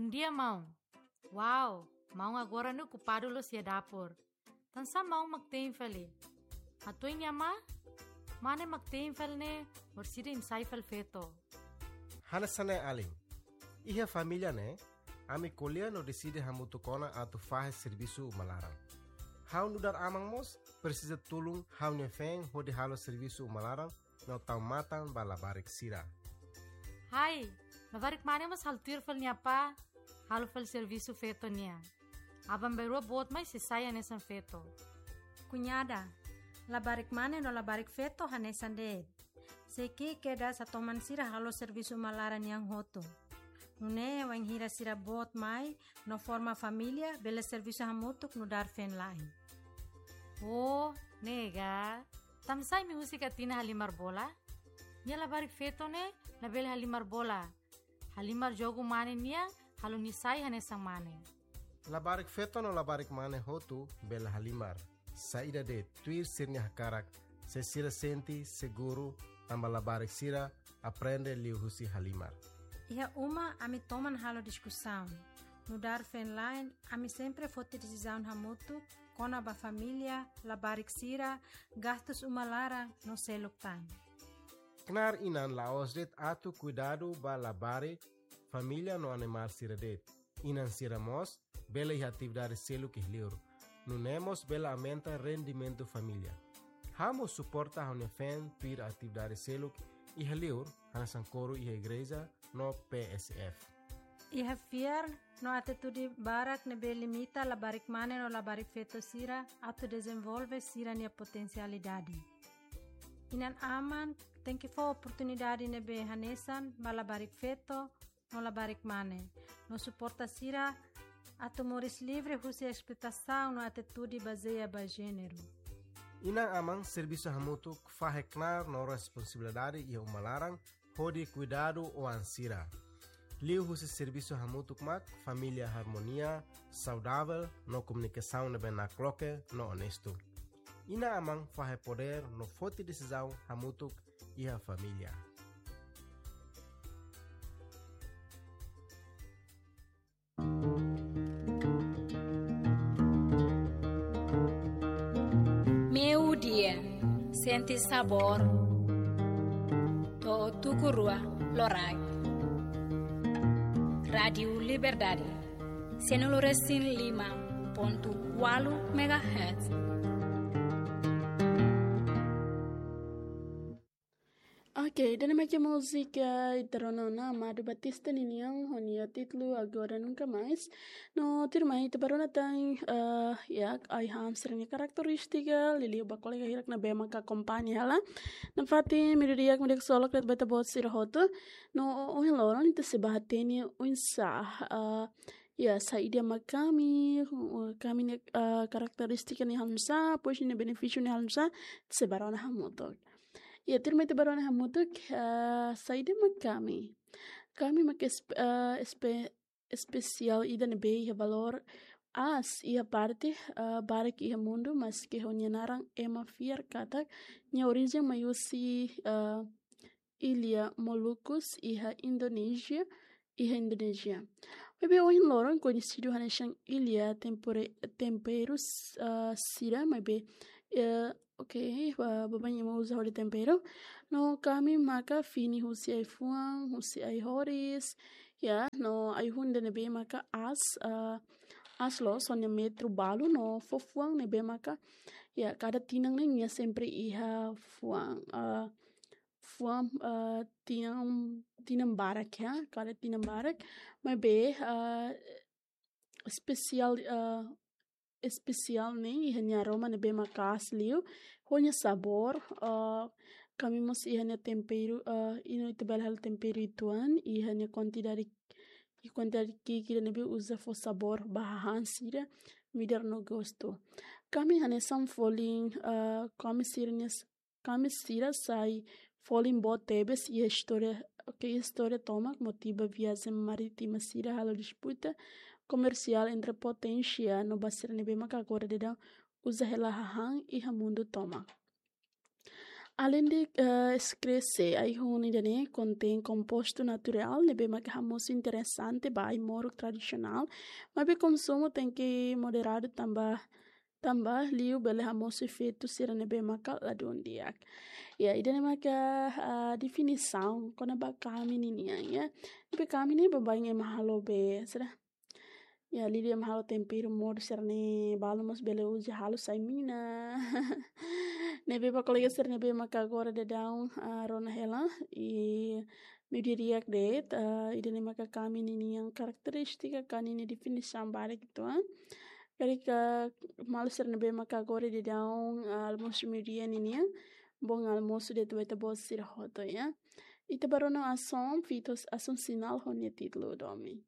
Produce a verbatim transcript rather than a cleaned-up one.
Bondia, maun. Wow, maun agora ne'e okupadu loos iha dapur. Tansá maun mak te'in fali? Hatuan nia amá, mane mak te'in fali ne'e, orsida imi sai fali feto. Hanesan ne'e alin. Iha família ne'e, ami ko'alia no deside hamutuk ona atu fahe servisu uma laran. Ha'u nu'udar aman mós presiza tulun ha'u-nia feen hodi halo servisu uma laran no tau matan ba labarik sira. Hai, labarik mane mós halo tuir fali nia apá, halo fali servisu feto nian. Aban-bainrua boot mai sei sai hanesan feto. Kuñada, labarik mane no labarik feto hanesan de'it. Sei ki'ik kedas atu toman sira halo servisu uma laran nian hotu. Nune'e wainhira sira boot mai no forma família, bele servisu hamutuk nu'udar feen-la'en. Oh, ne'e ka. Tansá imi husik Atina halimar bola? Nia labarik feto ne'e labele halimar bola. Halimar jogu mane nian, halo nia sai hanesan mane. Labarik feto no labarik mane hotu bele halimar. Saida de'it, tuir sira-nia hakarak, se sira sente seguru, tanba labarik sira aprende liuhusi halimar. Iha uma ami toman halo diskusaun. Nu'udar feen-la'en, ami sempre foti desizaun hamutuk kona-ba família, labarik sira, gastus uma laran no seluk tan. Knaar inan la'ós de'it atu kuidadu ba labarik, família no animál sira de'it. Inan sira mós bele iha atividade seluk iha li'ur. Nune'e mós bele aumenta rendimentu família. Ha'u mós suporta ha'u-nia feen tuir atividade seluk iha li'ur, hanesan koru iha igreja no P S F. Iha fiar no atitude barak ne'ebé limita labarik mane no labarik feto sira atu dezenvolve sira-nia potensialidade. Inan-aman tenke fó oportunidade ne'ebé hanesan ba labarik feto no labarik mane, no suporta sira atu moris livre husi esploitasaun no atitude bazeia ba jéneru. Inan-aman servisu hamutuk fahe knaar no responsabilidade iha uma laran hodi kuidadu oan sira. Liuhusi servisu hamutuk mak família harmonia, saudavel no komunikasaun ne'ebé nakloke no onestu. Inan-aman fahe podér no foti desizaun hamutuk iha família. Meio-dia, sente sabor, to'o tuku rua loraik. Rádiu Liberdade, cento e cinco ponto quatro megahertz. Ok, ida-ne'e mak múzika ita rona ona Amado Batista ninian ho nia títulu Agora Nunca Mais. No tuirmai ita bá rona tan, eh, ya, ai-han sira-nia karakterístika, liuliu ba kolega hirak ne'ebé maka akompaña hela. Nafatin, mediodía, kolega solok, ita-boot sira hotu. No ohin loron ita sei bá hatene oinsá, eh, ya, saida mak Kami, eh, Kami nia, eh, karakterístika ne'e halo nu'usá, depois nia benefísiu ne'e halo nu'usá, ita sei bá rona hamutuk. Ya, tuirmai ita bá rona hamutuk, eh, saida mak Kami. Kami mak espe-, eh, espe-, espesiál ida ne'ebé iha valór aas iha parte, eh, barak iha mundu, maske ho nia naran ema fiar katak nia orijen mai husi, eh, Illa Molucos iha Indonézia, iha Indonézia. Maibé ohin loron koñesidu hanesan illa tempore-, temperu, ah, sira, maibé, eh, ok, ba-, baibain ema uza hodi temperu. No Kami maka fini husi ai-fuan, husi ai-horis, ya, no ai-hun ida ne'ebé maka aas, ah, aas loos, ho nia metru balu no fó fuan ne'ebé maka, ya, kada tinan ne'e nia sempre iha fuan, ah, fuan, ah, tinan, tinan barak ya, kada tinan barak. Maibé, ah, espesiál, ah, espesiál ne'e iha nia aroma ne'ebé maka'as liu, ho nia sabór, ah, Kami mós iha nia temperu, ah, ita bele halo temperu uitoan, iha nia kuantidade, iha kuantidade ki'ik ida ne'ebé uza fó sabór ba hahán sira, midar no gostu. Kami hanesan folin, ah, Kami sira-nia s-, Kami sira sai folin boot tebes iha istória, ok, istória tomak, motiva viajen marítima sira halo disputa komersiál entre poténsia no ba sira ne'ebé maka agora daudaun uza hela hahán iha mundu tomak. Alende, eh, eskrese, ai-hun ida-ne'e kontein kompostu naturál ne'ebé maka hamosu interesante ba ai-moruk tradisionál, maibé konsumu tenke moderadu tanba, tanba liu bele hamosu efeitu sira ne'ebé maka ladún di'ak. Ya, ida-ne'e maka, ah, definisaun kona-ba kami ninian, ya. Ne'ebé kami ne'e baibain ema halo be, sira. Ya, liuliu ema halo temperu modo sira-ne'e, balu mós bele uza halo sai mina. Ne'ebé ba kolega sira ne'ebé maka agora daudaun, ah, rona hela, i meiudia di'ak de'it, ah, ida-ne'e maka kami ninian karakterístika ka ninia definisaun badak uitoan. Karik, ah, maluk sira ne'ebé maka agora daudaun, ah, almosu meiudia ninian, bom almoço de'it ba ita-boot sira hotu, ya. Ita bá rona asaun, fito asaun sinál ho nia títulu domin.